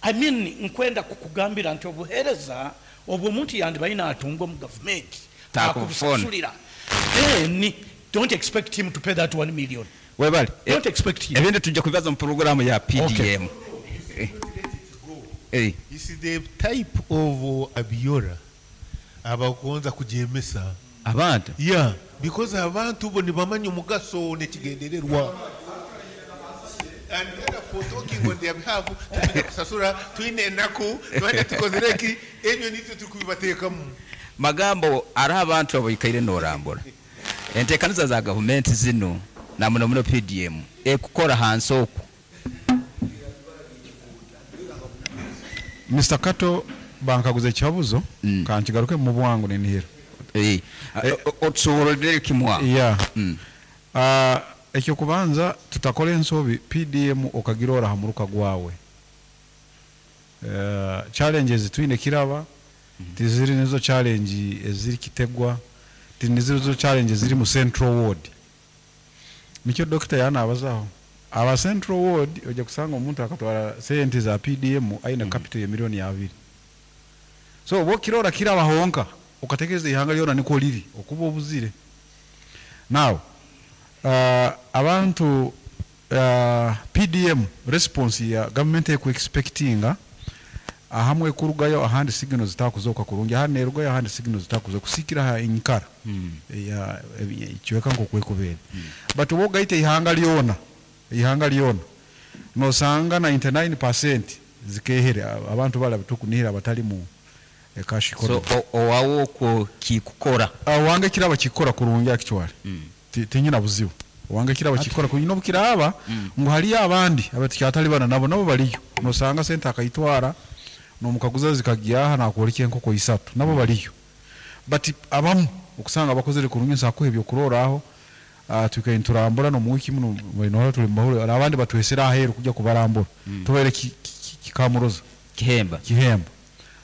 I mean, nkwenda kukugambira nti obuheereza obwo omuntu yandibaine atunga omu gavumenti Takubufuna. akubusasulira, then don't expect him to pay that one million. Webale. Don't expect him. Ebindi tujja kubibaza mu porogaramu ya P D M. Eh. Eh. Is the type of uh, abiora abagonza kujemesa Abantu. Yeah, because abantu bo nibamanya omugaso nekigendererwa, and therefore talking on their behalf, tupita kusasura twine enaku twine tukozereki ebyo nitwe turikubibateekamu. Magambo ariho abantu abaikaire norambura enteekaniza za gavumenti zino na muno muno P D M ekukora hansi oku. Mister Kato, bankaguza ekihabuzo. Mm. Kankigaruke mu bwangu ninihira. Eh, otusobolere kimwa. Yeah. Mm. Ah, ekyokubanza, tutakora ensobi P D M okagirora ha muruka gwawe. Uh, challenges twine kiraba tiziri nizo challenge eziri Kitegwa, tinizo challenge ziri mu Central Ward. Nikyo dokita yanabazaho aba Central Ward, ojja kusanga omuntu akatwara sente za P D M aina mm. capital ya milioni abiri. So oba okirora kiraba honka ukatekereza ihanga lyona niko liri, okuba obuzire. Now uh, abantu uh, P D M response ya government eku expectinga ahamwe kurugayo, ahandi signal zitakuzoka kurungi, ahandi nerugayo, ahandi signal zitakuzoka kusikira ha inkara Mm. ya ikiweka nko kwekubere mm. But wowe gaite ihanga lyona, ihanga lyona nosanga ninety-nine percent zikehere abantu bala tukunihira abatali mu eh, cash So economy. o- owawo okwo kikukora. Wange kiraba kikora kurungi actually. Mm. Ti- tinyina buzibu, wange kiraba kikora kunyina obukiraba Mm. ngu haliyo abandi abatukyatali bana nabo nabo baliyo, nosanga sente akayitwara nomukaguza zikagyaha nakwoleka enkoko isatu, nabo baliyo. But abamu okusanga bakozere kurungi, nsakuha ebyokuroraho. uh, twikaye nturambura no mu wiki muno nohora tuli mumahoro, abandi batwesera aheru kujya kubarambura, tubaire ki- ki- kikamuroza Kihemba. Kihembo.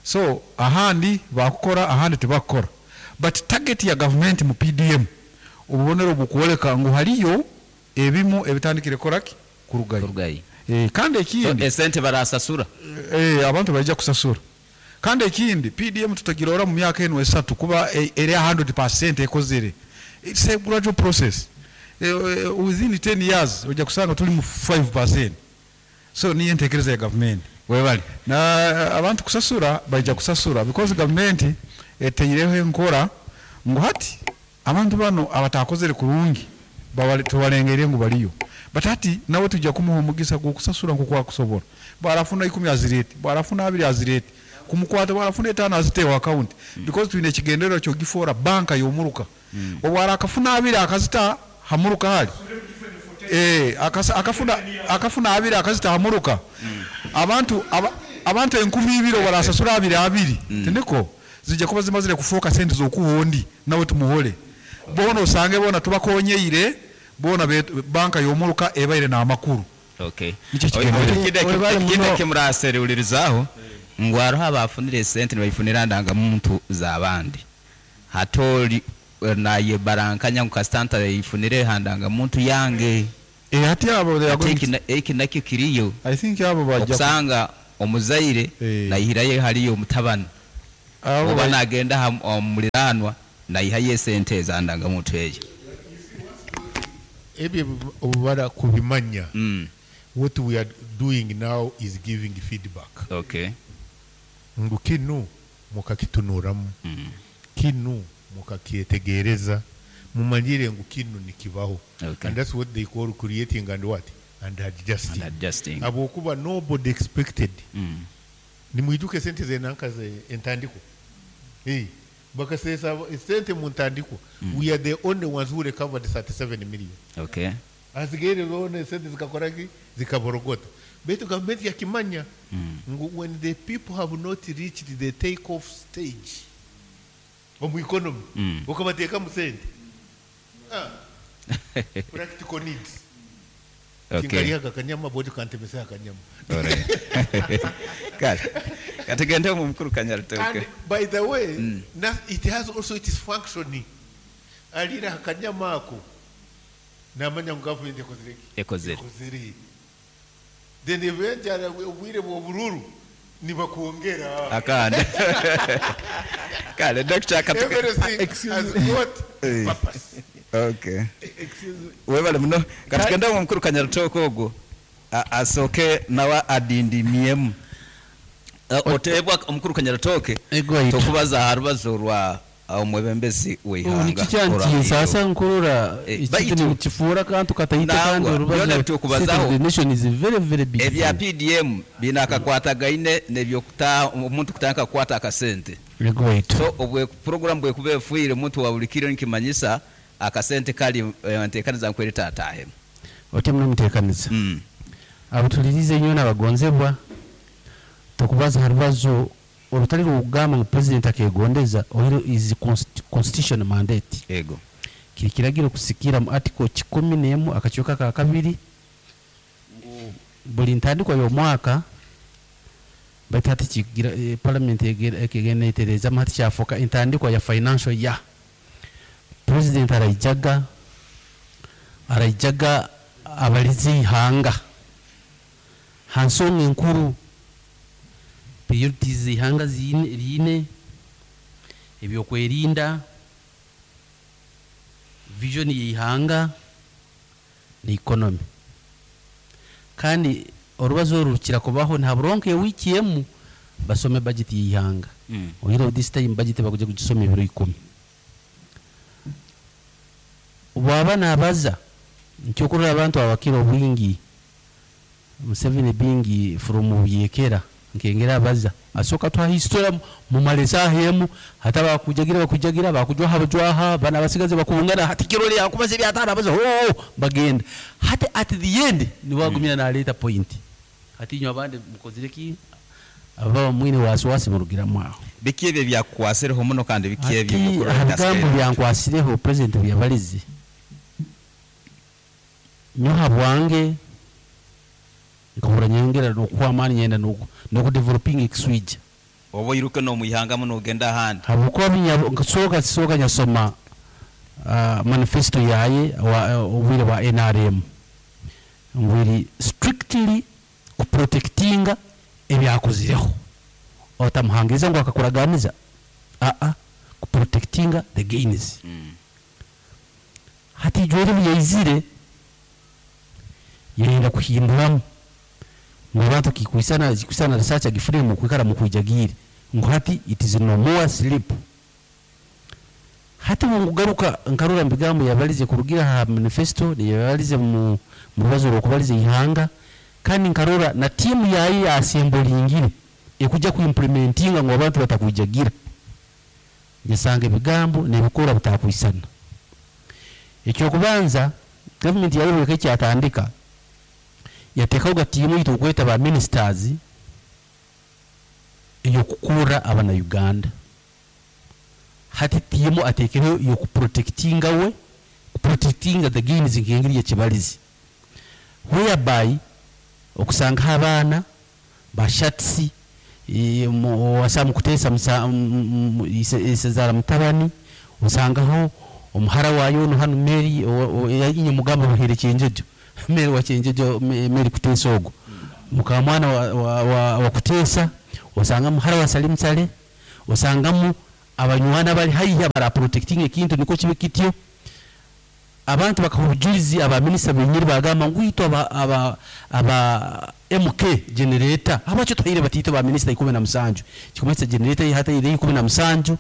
So ahandi bakukora, ahandi tebakukora, but target ya government mu P D M, obubonero bukwoleka ngu haliyo ebimu ebitandikire koraki kurugayo. Kurugayo. Eh, kandi So ekindi, esente barasasura. eh, abantu bajja kusasura. Kandi ekindi, P D M tutagirora mu myaka eno esatu kuba eh, eri one hundred percent ekozere. It's a gradual process. eh, eh, within ten years ojja kusanga tuli mu five percent. So niyo entekereza ya government. Webale. Na abantu kusasura, bajja kusasura because government eteireho enkora ngu hati abantu bano abatakozere kurungi bawale- tubalengeire ngu baliyo, but hati nawe tujja kumuha omugisa gwokusasura nkokwakusobola. Bwarafuna ikumi azirete, bwarafuna abiri azirete kumukwata, bwarafuna etaano aziteewo account, because twine ekigendererwa kyogifoora banka yomuruka. Obwara akafuna abiri akazita hamuruka hali. Eh, akasa- akafuna akafuna abiri akazita hamuruka, abantu aba, abantu enkumi ibiri barasasura abiri abiri, tindiko zijja kuba zimazire kufuuka sente z'okuwondi nawe tumuhole bona osange bona tubakonyeire bona be- banka y'omuruka ebaire n'amakuru. Okay. Nikyo kigendererwa. Webale Ekindi muno. kimuraserulirizaho ngu hariho abafunire esente nibayifunira ndangamuntu z'abandi, hati oli eh, naye barankanya ngu kasita ntayifunire ha ndangamuntu yange. Eh, hati abo they are Ate going eki na- eki nakyo kiriyo. I think abo bajja Okusanga Omuzaire Eh. naihirayo haliyo omutabani Abo oba bai- nagenda ha- omuliraanwa naihayo esente ezandangamuntu eyo. Ebyo obubara kubimanya. Mm. What we are doing now is giving feedback okay ngu kinu mukakitunuramu, mm. kinu mukakyetegereza, mumanyire ngu kinu nikibaho. Okay. And that's what they call creating and what and adjusting. And adjusting. Habwokuba nobody expected. mm. Nimwijuke sente zenanka ze entandiko. Hey, bakasesa sente mu ntandiko. We are the only ones who recovered thirty-seven million. Okay asigaire zona sente zikakoraki, zikaborogota. Baitu gavumenti yakimanya mm. ngu when the people have not reached the take off stage omu economy, Mm. ukabateekamu sente. Ah, practical needs. Okay kinkaliaga akanyama bodi kantemesa akanyama. Alright. Kale katugende mu mukuru Kanyarutooke. And by the way, Mm. na, it has also its functioning. Alira akanyama ako namanya ngu gavumenti ekozire ki? Ekozere. Ekozere. Then eventually obwire bw'obururu nibakwongera Akandi. Kale Doctor katuge everything Excuse has me. got Eh. purpose. Okay. Excuse me. Webale muno. Katugende mu mukuru Kanyarutooke ogwo A- asooke nawe adindimiemu. Eh, oteebwa omukuru Kanyarutooke Egwaitu. tokubaza aha rubazo rwa omwebembezi w'eihanga. Nikikyantiisa nkurora Eh, ekintu baitu- nikifuura kantu katahita Nangwa, kandi byona orubazo. bitukubazaho. State of the nation is very very big Ebya thing. P D M binakakwatagaine nebyokuta omuntu kutandika kukwata akasente. Egwaitu. So obwe program bwekuba efuire omuntu wa buli kiro nikimanyisa akasente kali eh, nteekaniza nkwereta ataahemu. Otyo muno muteekaniza. Mm. Abatulirize nnyo n'abagonzebwa, tokubaza ha rubazo olutali rwokugamba ngu president akegondeza oiro is const- constitution mandate. Ego. Kiri kiragiro kusikira mu article kikumi n'emu akakiiko ka kabiri ngu buli ntandikwa y'omwaka baitu hati kigira eh, parliament ekegenda etereezamu hati kyafuuka entandikwa ya financial year. President araijaga araijaga abalize ihanga ha nsonga enkuru, priorities ihanga ziine riine, ebyokwerinda, vision y'ihanga ni economy. Kandi orubazo oru rukira kubaho nta buronke ewiki emu basome budget y'ihanga. Mm. Oyira this time budget bakuja kugisoma ebiro ikumi. Bwaba nabaza nkyokurora abantu abakira obwingi Museveni bingi from Buyekera nkengera abaza asooka twa history mumale esaaha emu hata bakujagira bakujagira bakujwaha bajwaha bana abasigazi bakungana hati kirole yakubaza ebyataano abaza oh, bagenda hati at the end niwagumira mm. naleeta point hati inywe abandi mukozire ki ababa mwine wasiwasi murugiramu aho. Biki ebyo byakukwasireho muno kandi biki ebyo Ati byokurora aha bigambo byankwasireho president byabalize nyoha bwange nkahura nyongera nokuha amaani nyenda noku nokudeveloping ekiswija. Oba oyiruke n'omwihanga muno ogenda ahandi. Habwokuba binya- nkasooka sooka nyasoma uh, manifesto yaye wa- obwire bwa N R M ngwiri strictly kuprotectinga ebyakozireho otamuhangiriza ngu akakuraganiza aa kuprotectinga the gains. Mm. Hati ijwere byaizire yenda kuhinduramu ngu abantu kikwisana kikwisana research agifune mu kwikara mu kwijagire ngu hati it is no more sleep. Hati bungugaruka nkarura mbigambo yabalize kurugira ha manifesto yabalize mu mu rubazo rwokubaliza ihanga kandi nkarora na timu yayi yasembolingire ekuja kuimplementinga ngu abantu batakwijagira nyasanga ebigambo nebikora bitakwisana. Ekyokubanza government yayoboka ekyatandika yateekaho gatiimu yitu okweta ba ministers eyokukura abana Uganda. Hati tiimu ateekeho yokuprotectinga we kuprotectinga the gains nk'engeri yekibalizi whereby okusangaho abaana bashatsi wasa mukuteesa musa- m- m- ise- isezaara mutabani osangaho omuhara wayo ono hanu Mary inye mugamba buhere Kyenjojo, Mary wa Kyenjojo, Mary Kuteesa ogwo. Mukamwana wa, wa, wa, wa Kuteesa, osangamu muhara wa Salim Saleh, osangamu abanywana bali haihi abara protecting ekintu niko kibe kityo. Abantu bakaha obujulizi, abaminisita benyini bagamba ngu itwe aba, aba, aba M K generator habwaki tuhaire batiito ba minisita ikumi na musanju, kikumanyisa generator hataire ikumi na musanju.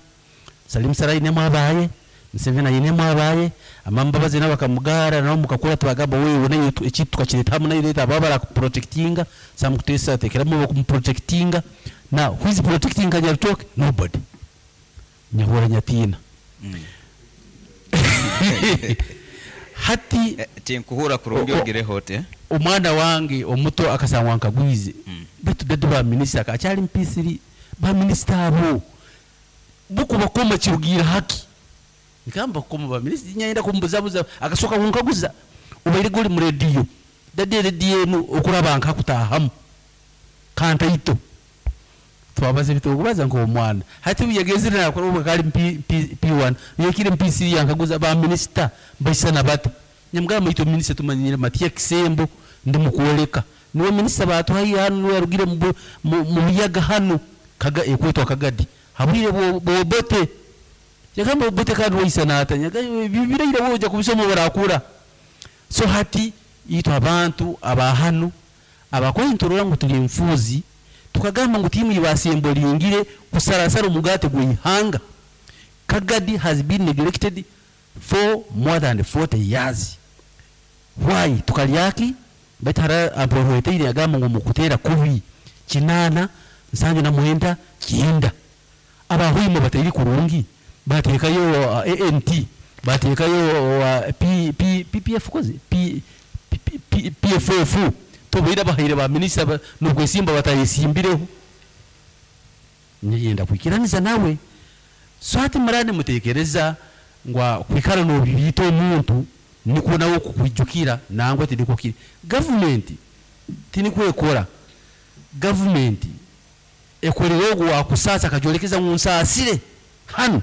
Salim Saleh ainemu abaye, Museveni ainemu abaye, Amambabazi nabo bakamugara nabo mukakura tubagamba wewe nayo ekintu tukakireta hamwe nayo leta ababa barakuprotectinga. Sam Kutesa atekeramu bakumuprotectinga. Now who is protecting Kanyaritoke? Nobody. Nyahura nyatina. Mm. Hati eh, tinkuhura kurungi O- o- ogireho ote. Omwana wange omuto akasangwa nkagwize. Mm. Bitu dadu ba minister akyali mpisiri ba minister abo buku bakoma kirugira haki. Nkamba koma ba minister nyenda kumbuzabuza akasoka kunkaguza ubaire goli mu radio. Dade radio enu okuraba nkakutahamu. Kanta ito. Twabaze bitokubaza ngo omwana. Hati uyegezire na kuruba kali P, P, P one. Yekire M P C yankaguza ba minister baisana bata. Nyamugamba ito minister tumanyire Matia Kisembo ndi mukuoleka. Niwe minister batuhaye hano niwe yarugire mu, mu, mu biyaga hano kaga ekwetwa Kagadi. Habwire bo, bobote. Yagamba bobote kandi waisana ata. Nyaga bibira woja kubisoma barakura. So hati itwa abantu abahano abakwinturura ngo tuli mfuzi tukagamba ngo timu ibasembolingire kusarasara umugate gwihanga. Kagadi has been neglected for more than forty years. Why? Tukalyaki betara abrohwete yagamba ngo mukutera kubi kinana nsange na muhenda kinda abahwimo batari kurungi batekayo, uh, A N T batekayo, uh, P, P, P P F koze P, P, P, P, P F F tobira bahire ba minister ba, nubwo simba batayisimbireho nyenda kwikiraniza nawe. So ati murane mutekereza ngwa kwikara no bibito omuntu niko nawo kukwijukira nangwa tidiko kiri government tinikwekora government ekorera ogwo wakusasa akajolekeza mu nsasire hano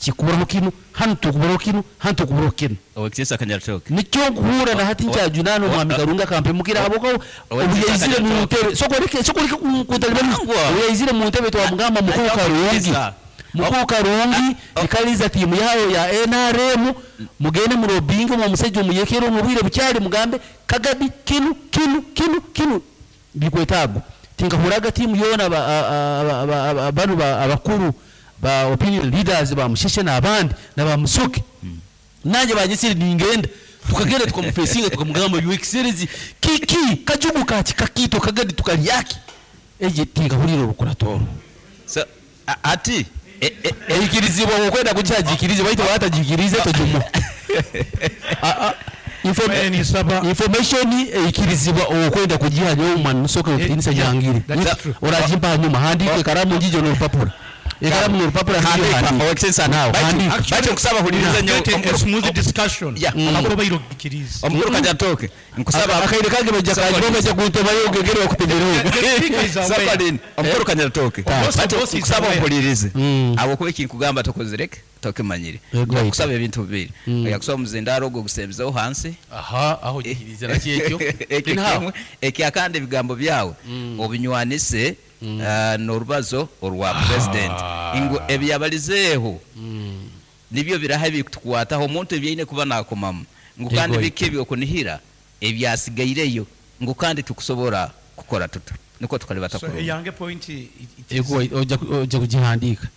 kikuburaho kino hano tukuburaho kino hano tukuburaho kino. Owekisesa Kanyaritoke. Nicyo nkuhura na hati O- nkyajunano o- mwami o- Karunga kampe mukira aboko Owekisesa obuyezire mu Kanyaritoke. ntebe sokoleke sokoleke kutalibani Nangwa. obuyezire mu ntebe twamugamba mukuru Nangwa. Karungi. Nangwa. Mukuru Karungi Ah, oh. ikaliza timu yayo ya N R M mugende mu lobbying mu musajja omuyekero mu bwire bukyali mugambe Kagadi kinu kinu kinu kinu bikwetago tinkahuraga timu yona ba, a, a, a, a, a, banu ba, abakuru ba opinion leaders ba Musheshe n'abandi na ba Musoke. Mm. Nanjye banyisiri ningenda tukagenda tukamufesinga tukamugamba you excellency kiki kajugu kaki kakito Kagadi tukalyaki eje tinkahurira orukuratoro. So a, ati e, e, eikirizibwa okwenda kukyagikirize baitu batajikirize tojumu. A, a, inform-, Mweni saba. Information eikirizibwa okwenda kugiha nyowe omwana Musoke Eh, okitinisa yeah, jangire. that is Ni- true. Oragimpa hanyuma handike karamu njijo n'orupapura. Ekaramu n'orupapura njijo Handika, handika. Owekisesa, Now, baitu- handika. baitu nkusaba huliriza nyowe, Get a omukuru- smooth discussion. Yeah, Mm. Omukuru bairo kikirize. Omukuru Kanyaritoke, nkusaba akaire kange bajja Saba kanjuma bajja kuntebayo ngegere bakutemereho. The speaker is aware. Saba lini, omukuru Kanyaritoke. Boss- Baitu boss is nkusaba aware. ompulirize. Mm. Abo kuba ekinkugamba tokozireke, tokimanyire. Yego, Nkusaba ebintu bibiri. Mm. Oyakusaba omuzindaaro ogwo ogusembezeho hansi. Aha, aho gikirize nakyo ekyo. Ekyo Anyhow. kimwe. Ekyakandi ebigambo byawe Mm. obinywanise, Mm. ah, n'orubazo orwa president. Ngu ebyabalizeeho Mm. nibyo biraha ebikutukwataho omuntu ebyaine kuba nakomamu. Ngu kandi Yego. biki ebyokunihira ebyasigaireyo ngu kandi tukusobora kukora tuta. Niko tukalibata So kurungi. eyange point i- it is Ego, ojja ku-, ojja kugihandiika.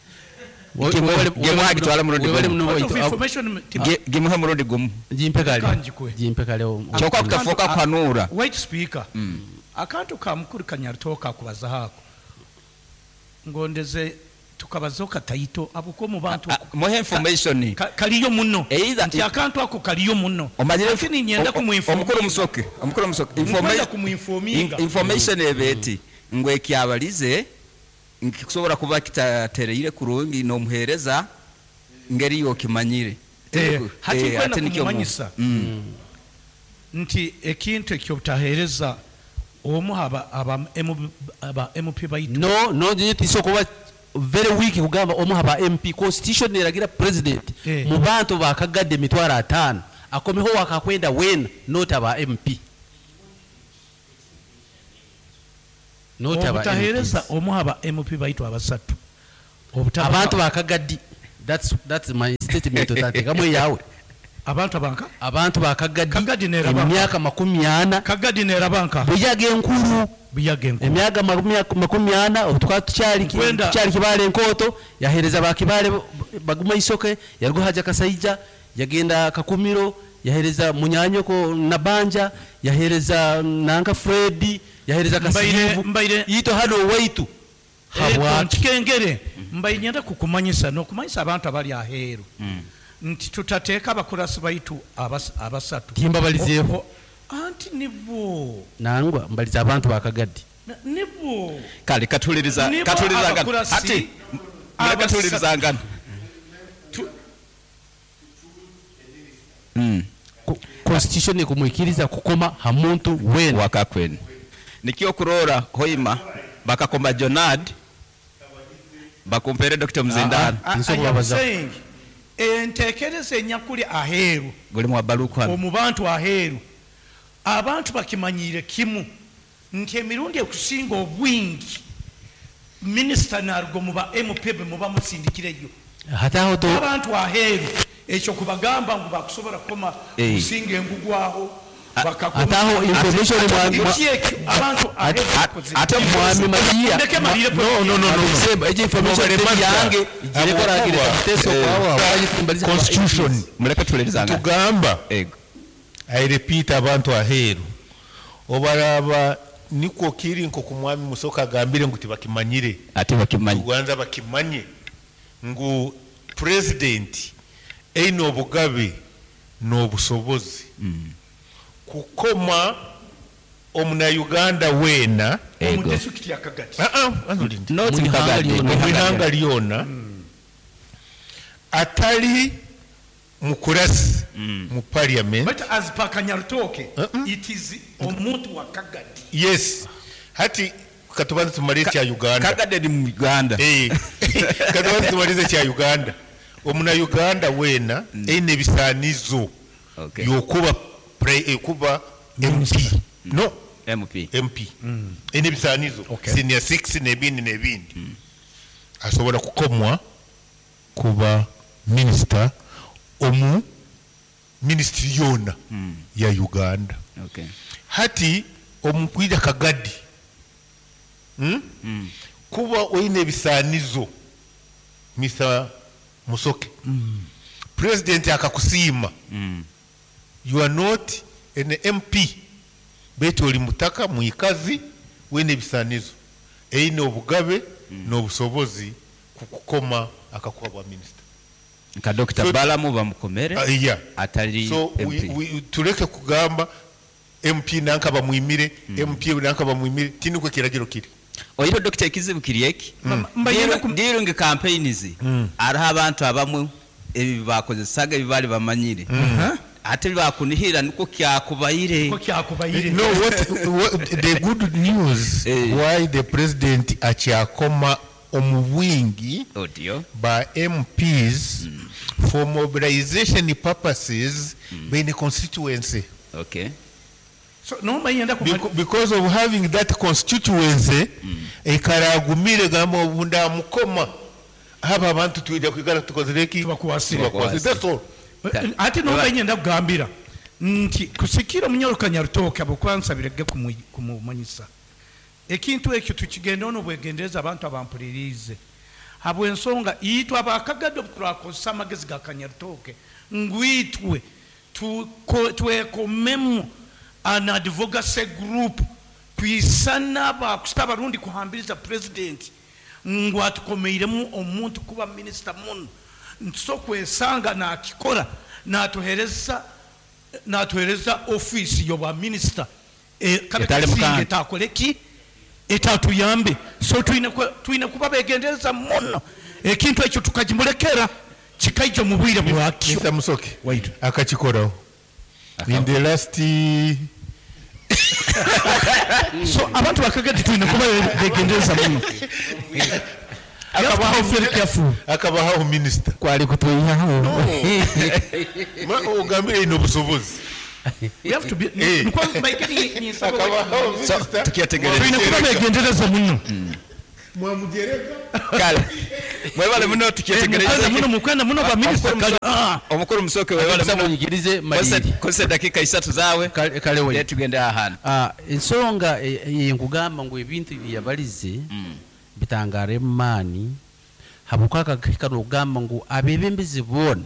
Gimuha gitwala murundi Webale gumu. muno Point of waitu. information ti- Gi-, gimuhe murundi gumu. Gimpe kale. Kanjikwe. Gimpe kale o-, Kyokka kutafuuka kuhanuura. Wait speaker. Mm. Akantu ka mukuru Kanyaritoke akubaza haako. Ngondeze tukabazaho kataito abuko mu bantu Ah, muhe information. Ka-, kaliyo muno. Either Nti akantu ako kaliyo muno. Omanyire Lakini nyenda o-, o-, kumuinforminga. omukuru Musoke, omukuru Musoke, Nkwenda informa-, kumuinforminga. in-, information ebeti ngu ekyabalize nkikusobola kuba kitatereire kurungi n'omuheereza ngeri yokimanyire. Eh, hati Eh, nkwenda ate nikyo mu- kumumanyisa. Mm. Nti ekintu ekyobutaheereza omu aba, aba M-, aba M P baitu. No, no, nje tisokuba very weak kugamba omu aba M P. Constitution eragira president Eh. mu bantu bakagadde emitwalo ataano akomeho wakakwenda wena not aba M P. Not aba Obutaheereza M Ps. omu aba M P baitu abasatu. Obutaba- Abantu bakagadi, that's, that's my statement, otateekamu eyawe. Abantu abanka Abantu bakagadi. Kagadi neraba. Emyaka makumi ana. Kagadi nerabanka. Buyaga enkuru. Buyaga enkuru. Emyaka makumi- makumi ana obu tukaba tukyali Kwenda- tukyali Kibaale enkooto, yaheereza bakibale baguma isoke, yaruga haja Kasaija, yagenda Kakumiro, yaheereza munyanyoko Nabanja, yaheereza nanka Fredi, yaheereza Mbaire- Kasirivu. Mbaire- Ito hano waitu habwaki? Nkikengere mbaire nyenda kukumanyisa n'okumanyisa abantu abali aheeru nti tutateeka abakurasi baitu abas- abasatu. Timbabalizeeho. O- o- anti nibo. Nangwa mbaliza abantu bakagadi. Na- nibo. Kale katuliriza Nibo katulirizangana. abakurasi Ati mureke abasa- tulirizangana. Tu- Mm. Ko- constitution ekumwikiriza kukoma ha muntu wena. Wakakwenu nikyo kurora hoima bakakoma Jonad bakumpere Doctor Mzindano. I- I am Nsobola. saying, enteekereza enyakuli aheeru Guli mwa baluku hano. omu bantu aheeru, abantu bakimanyiire kimu nti emirundi ekusinga obwingi minisita naruga mu ba M P be muba musindikireyo. Hataho to. Abantu aheeru ekyo kubagamba ngu bakusobola kukoma Eh. kusinga engugwaho bakakoma. Hataho information mwa- mwa- Eki ekyo abantu aheeru bakoze. Ate mwami Matiya. Ndeke malire. No, no, no, no, no. Sema, ejo information Mubare teri Mazda. yange igireko ragira Ahabwokuba, teso kwawo abanyitumbaliza. Constitution Muleke tulirizangana. tugamba. Ego. I repeat, abantu aheeru obaraba nikwo kiri nko mwami Musoka agambire ngu tibakimanyire. Ate bakimanyi. Tuganza bakimanye ngu president eine obugabe n'obusobozi kukoma omunayuganda weena. Omu Ego. disitulikiti ya Kagati. Ah, ah, anzulinde. Not Mu ihanga Kagadi. lyona. Mu ihanga lyona atali mukurasi mu parliament. But as per Kanyarutoke, Uh-uh. it is omuntu wa Kagadi. Yes, hati katubanze tumale ekya Uganda. Kagadi ni mu Uganda. Eh, katubanze tumalize ekya Uganda. Omunayuganda weena eine ebisaanizo Okay. yokuba pre- eh, kuba M P, no. M P. M P eine ebisaanizo. Okay. Senior six n'ebindi n'ebindi, asobola kukomwa kuba minisita omu minisitiri yona ya Uganda. Okay. Hati omukwija Kagadi, hmm? Kuba oine ebisaanizo, Mister Musoke, president akakusiima, Mm. you are not an M P, betu oli mutaka mwikazi wine ebisaanizo, eine obugabe n'obusobozi kukukoma akakuba bwa minisita. Nka Doctor So- Balamu bamukomere Uh, yeah. atali So we, M P. we, tuleke kugamba M P nanka bamwimire, M P nanka bamwimire, tinukwe kiragiro kiri. Oyiro Doctor ekizibu kiri eki. Mbayenda During- during campaigns hariho abantu abamwe ebi bakozesaga ebi bali bamanyire ate bakunihira niko kyakubayire. Ko kyakubayire. No, what, what the good news, Eh. why the president akyakoma omu bwingi Odio. ba M Ps for mobilization purposes beine constituency. Okay. So nomba yenda ku Beco- because of having that constituency, ekaragumire gamba obunda mukoma aba abantu twija kwigara tukozereki. Tubakwasire. Tubakwasire. That's all. Ate nomba yenda kugambira nti kusikira omunyoro Kanyarutoke abokwansabirege kumumanyisa ekintu ekyo tukigenda ono bwegendereza abantu abampulirize habwensonga itwe abakagadde turakozesa amagezi ga Kanyarutoke ngwitwe tuko- twekomemu an advocacy group kwisana bakusita abarundi kuhambiriza president ngu atukomeiremu omuntu kuba minisita muno nso kwesanga nakikora natuhereza natuhereza ofisi yobwa minisita e, kabe Etali kasinga mukanda. etakoleki etatuyambe. So twine ku- twine kuba begendereza muno ekintu ekyo tukagimulekera kikaija mu bwire bwakyo. Mister Musoke Wait. akakikoraho in the last So abantu bakagati twine kuba begendereza muno. You have to be very careful. Akabahaho minisita. Kwali kutwihaho. Ma- ogambire ine obusobozi. We have to be Eh. nikwo mbaike ni- ninsaba Akabaho So, minisita. tukyetegereze. Twine kuba begendereza muno. Mwamugereka. Kale mwebale muno. Mukwenda Tukyetegereze. muno, mukwenda muno ba minisita kale. Ah. Omukuru Musoke, webale Nsaba muno. onyikirize maliri. Kozesa eddakiika isatu zaawe. Kale- kale we. Then tugende ahantu. Ah, ensonga e- e- nkugamba ngu ebintu byeyabalize bitangara emaani habwokuba akahika nokugamba ngu abebembezi boona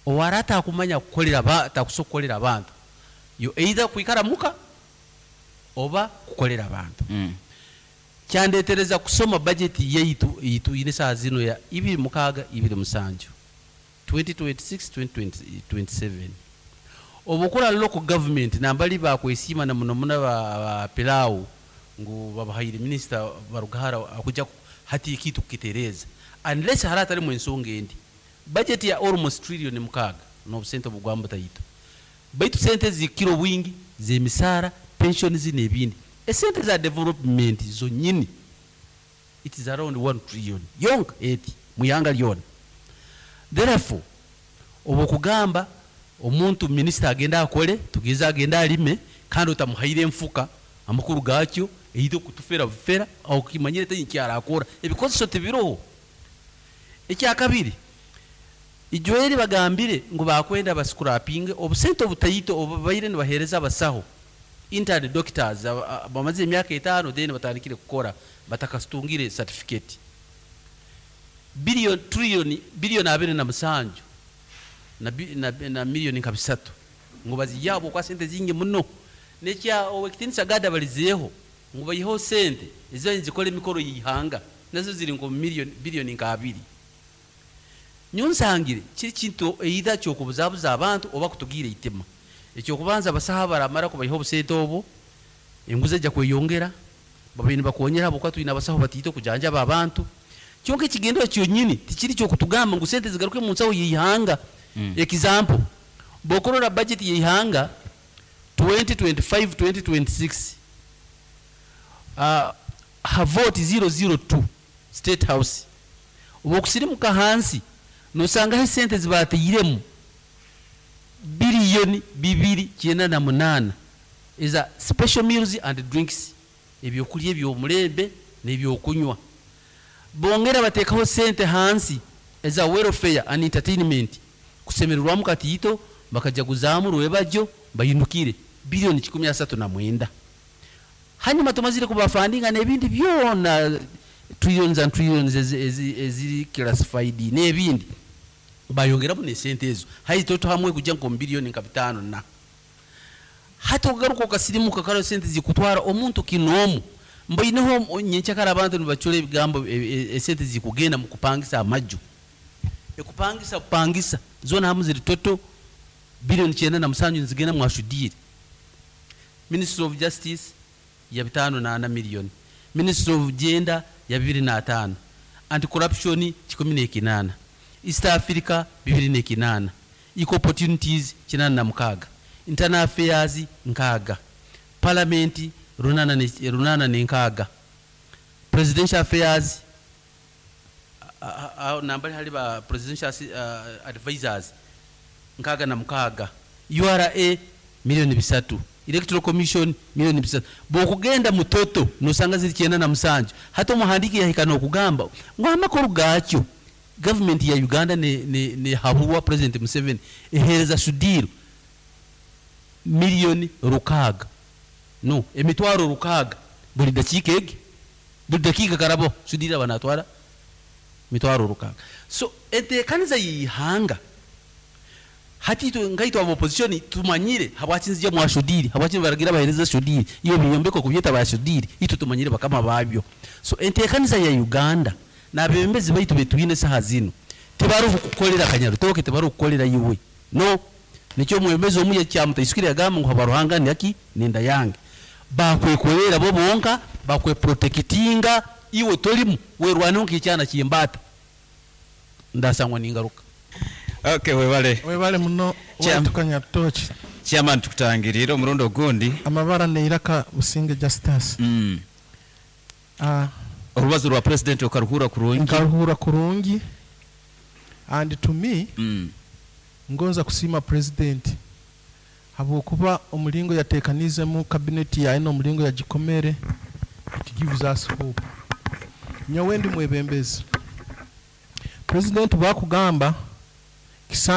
owara atakumanya kukolera ba- takusobola kukolera abantu, yo either kwikara muka oba kukolera abantu. Kyandetereza kusoma budget yaitu itwine saa zino ya ibiri mukaaga ibiri musanju, twenty twenty-six twenty twenty-seven. Obukora local government nambali bakwesiima na muno muno ba, ba pilau ngu babahaire minister Barugahara akuja ku- hati ekitu kukitereza, unless hari atarimu ensonga endi. Budget ya almost trillion mukaaga n'obusente obugwamba taito, baitu sente zikiro bwingi z'emisaara, pensions n'ebindi. Esente za development zonyini, it is around one trillion yonka eti muyanga lyona. Therefore, obwo kugamba omuntu minisita agenda akole, tugeze agenda alime kandi otamuhaire enfuka, amakuru gakyo eite okutufera bufera okimanyire tenyi kyarakora, ebikozeso tibiroho. Ekyakabiri, ijweri bagambire ngu bakwenda bascrapinge obusente obutaito obubaire nibahereza abasaho, intern doctors aba- aba- bamaze emyaka etaano then batandikire kukora batakasitungire certificate, billion trillion billion abiri na musanju na, bi- na, na miliyoni nka bisatu ngu baziyabo kwa sente zingi muno. Nekya owekitinisa gada balizeeho ngu bayiheho sente ezo nzikora emikoro yihanga, nazo ziri nko miliyoni biliyoni nka abiri. Nyonsangire kiri kintu either kyokubuzabuza abantu oba kutugira itima. Ekyokubanza, abasaha baramara kubayiha obusente obwo, enguzi ejja kweyongera, babaire nibakonyera habwokuba twine abasaho batiite okujanjaba abantu. Kyonka ekigendero kyonyini tikiri kyokutugamba ngu sente zigaruke mu nsaho yeihanga. Example, bwokurora budget yeihanga twenty twenty-five twenty twenty-six, uh, havoti zero zero two State House, oba okusirimuka hansi nosangaho esente zibateiremu biliyoni bibiri kyenda na munaana eza special meals and drinks, ebyokulya ebyomulembe n'ebyokunywa. Bongera bateekaho sente hansi eza welfare and entertainment, kusemererwamu katiito bakajaguzaamu rwebajyo bayinukire, biliyoni kikumi asatu na mwenda. Hanyuma tumazire kubafundinga n'ebindi byona, trillions and trillions ezi- ezi- eziri classified n'ebindi, bayongeramu nesente ezo hayi toto hamwe kujja nko biliyoni nka bitano. Na hati okugaruka okasirimuka karo sente zikutwara omuntu kinoomu mboineho nyenkyakara abantu nibacura ebigambo e- e- esente zikugenda mu kupangisa amaju, ekupangisa kupangisa zona hamu ziri toto biliyoni kyenda na musanju nizigenda mwashudire. Ministry of Justice ya bitano na ana miliyoni, Ministry of Gender ya bibiri na ataano, Anti Corruption kikumi nekinana, East Africa bibiri nekinana, Equal Opportunities kinana na mukaaga, Internal Affairs nkaaga, Parliament runana ne- runana nenkaaga, Presidential Affairs a- a- a- nambali hali ba presidential assi- uh, advisors nkaaga na mukaaga, U R A miliyoni bisatu, Electoral Commission miliyoni bisatu. Bwokugenda mutoto nosanga ziri kyenda na musanju. Hati omuhandiki yahika nokugamba ngu amakuru gakyo gavumenti ya Uganda ne, ne, ne haburwa President Museveni ehereza Sudiru miliyoni rukaaga, no emitwaro rukaaga buli dakiika egi, buli dakiika karabo Sudiru aba natwara mitwaro rukaaga. So enteekaniza yihanga hati itwe ngaitwe aba opposition tumanyire habwaki nzija mwa Sudiri, habwaki baragira bahereza Sudiri iyo biyombeko kubyeta ba Sudiri, itwe tumanyire bakama babyo. So enteekaniza ya Uganda n'abebembezi baitu betwine saha zino tebari kukukolera Kanyarutoke, tebari kukukolera iwe. No nikyo omwebembezi omu yakyamutaisukire yagamba ngu habaruhanga naki nenda yange, bakwekolera bo bonka, bakweprotectinga, iwe tolimu werwaneho nk'ekyana kyembaata ndasangwa ningaruka. Okay, webale. Webale muno. Chairman. Waitu Kanyarutoki. Chairman, tukutangirire omurundi ogundi. Amabara neiraka Businge Justus. Mm. Ah, orubazo rwa president okaruhura kurungi? Nkaruhura kurungi, and to me Mm. ngonza kusiima president Habwokuba omulingo yateekanizemu cabinet yaye n'omulingo yagikomere, it gives us hope. Nyowe ndi mwebembezi, president bwakugamba kisa.